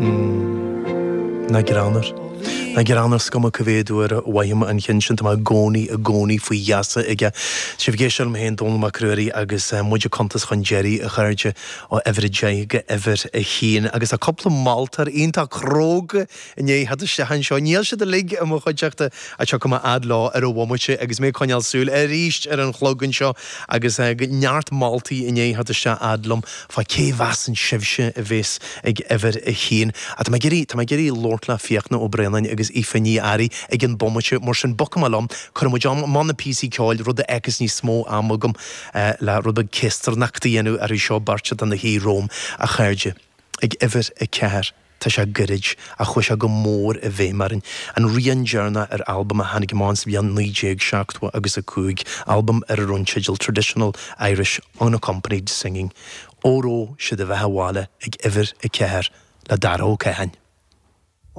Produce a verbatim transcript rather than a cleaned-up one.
Nach greannmhar. Nach greannmhar is cuma cá mhéad uair a mhaím an ceann sin, tá mé i gcónaí i gcónaí faoi gheasa aige. Sibh ag éisteacht liom féin, Dónall Mac Ruairí, agus muid ag cuntas chun deiridh, a chairde, ó uimhir a deich go uimhir a haon. Agus tá cúpla moltóir iontach cróga i ndiaidh theacht isteach anseo. Níl siad uilig i mo chuideachta ach tiocfaidh mé fhad leo ar an bhomaite agus mé ag coinneáil súil arís ar an chlog anseo agus neart moltaí i ndiaidh theacht isteach fhad liom fá cé mheasann sibhse a bhéas ag uimhir a haon. Ach tá mé ag iarraidh, tá mé ag iarraidh labhairt le Fiachna Ó Braonáin agus Aoife Ní Fhearraigh ag an bomaite, mar sin bogfaidh mé liom, cuirfidh muid amach na píosaí ceoil, rud a fhágfas níos mó ama agam le rud beag céastarnachta a dhéanamh orthu seo beirt atá ina shuí romham, a chairde. Ag uimhir a ceathair, tá sé gairid, ach chuaigh sé go mór i bhfeidhm orainn. An rian deireanach ar albam a tháinig amach sa bhliain naoi déag seachtó agus a cúig, albam ar a raibh an teideal Traditional Irish Unaccompanied Singing. Óró Sé do Bheatha 'Bhaile ag uimhir a ceathair le Dara Ó Catháin.